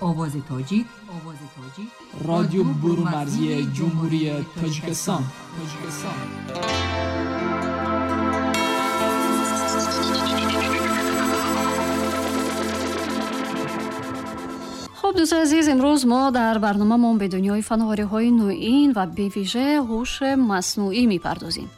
Овози Тоҷик, Овози Тоҷик, Радио Бурунмарзии Ҷумҳурии Тоҷикистон. Тоҷикистон. Хуб, дӯстони азиз, имрӯз мо дар барномаамон ба дунёи фановариҳои навин ва бевижа ҳуши маснуӣ мепардозем.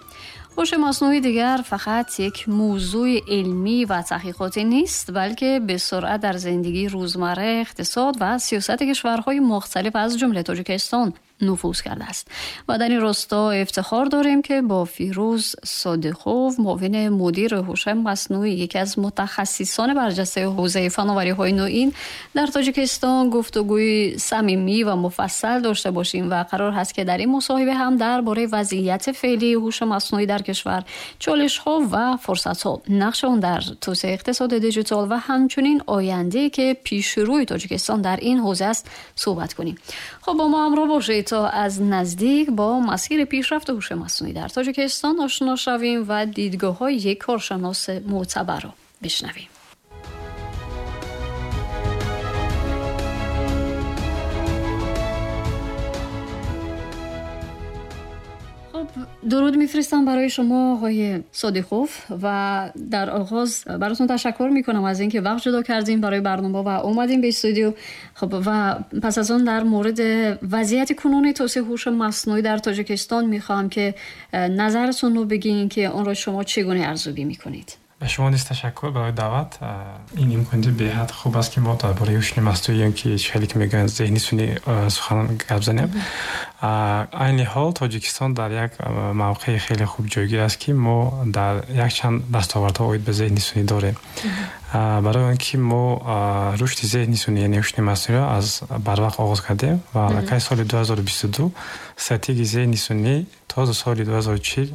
Ҳуши маснуӣ дигар фақат як мавзӯи илмӣ ва таҳқиқотӣ нест, балки ба суръат дар зиндагии рӯзмарра, иқтисод ва сиёсати кишварҳои мухталиф аз ҷумла Тоҷикистон нуфуз кардааст. Ва дар ин росто ифтихор дорем, ки бо Фирӯз Содиқов, муовини мудири ҳуши маснуӣ, яке аз мутахассисони барҷастаи ҳавзаи фановариҳои навин дар Тоҷикистон, гуфтугӯи самимӣ ва муфассал дошта бошем ва қарор ҳаст, ки дар ин мусоҳиба ҳам дар бораи вазъияти феълии ҳуши маснуӣ дар кишвар, чолишҳо ва фурсатҳо, нақши он дар توسعه اقتصاد دیجیتال و همچنین آینده‌ای که پیش روی تاجیکستان در این حوزه است صحبت کنیم. خب، با ما همراه باشید تا از نزدیک با مسیر پیشرفت هوش مصنوعی در تاجیکستان آشنا شویم و دیدگاه‌های یک کارشناس معتبر را بشنویم. خب، درود میفرستم برای شما آقای صادقوف و در آغاز براتون تشکر میکنم از اینکه وقت جدا کردیم برای برنامه و اومدیم به استودیو. خب، و پس از آن در مورد وضعیت کنونی توسعه هوش مصنوعی در تاجیکستان میخوام که نظرتون رو بگین که آن را شما چگونه ارزیابی میکنید. Ба шумо низ ташаккур барои даъват. Ин имконияти беҳад хуб аст, ки мо дар бораи ҳуши маснуӣ ё ки хеле ки мегӯянд зеҳни сунъӣ сухан гап занем. Айни ҳол Тоҷикистон дар як мавқеи хеле хуб ҷойгир аст, ки мо дар якчанд дастовардҳо оид ба зеҳни сунъӣ дорем, барои он ки мо рушди зеҳни сунъӣ, яъне ҳуши маснуиро аз барвақт оғоз кардем ва аллакай соли 2022 стратегияи зеҳни сунъӣ то соли 2040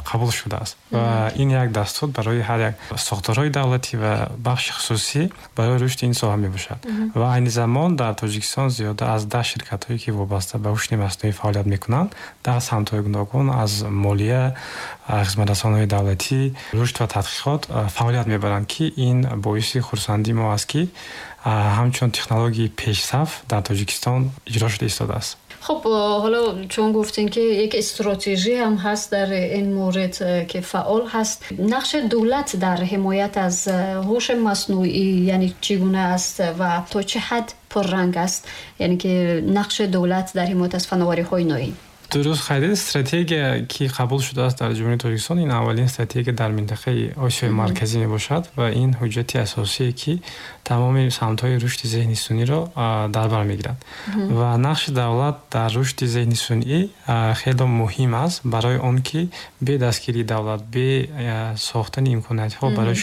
қабул шудааст ва ин як дастур барои ҳар як сохторҳои давлатӣ ва бахши хусусӣ барои рушди ин соҳа мебошад. Ва айни замон дар Тоҷикистон зиёда аз 10 ширкатҳое, ки вобаста ба ҳуши маснуӣ фаъолият мекунанд, дар самтҳои гуногун аз молия, хизматрасониҳои давлатӣ, рушд ва тадқиқот фаъолият мебаранд, ки ин боиси хурсандии мо аст, ки ҳамчун технологияи пешсаф дар Тоҷикистон иҷро шуда истодааст. خب، حالا چون گفتین که یک استراتژی هم هست در این مورد که فعال هست، نقش دولت در حمایت از هوش مصنوعی یعنی چگونه است و تا چه حد پررنگ است، یعنی که نقش دولت در حمایت از فناوری های نوین؟ Дуруст қайд, стратегия, ки қабул шудааст дар Ҷумҳурии Тоҷикистон, ин аввалин стратегия дар минтақаи Осиёи Марказӣ мебошад ва ин ҳуҷҷати асосие, ки тамоми самтҳои рушди зеҳни сунъиро дар бар мегирад. Ва нақши давлат дар рушди зеҳни сунъӣ хело муҳим аст, барои он ки бе дастгирии давлат, бе сохтани имкониятҳо барои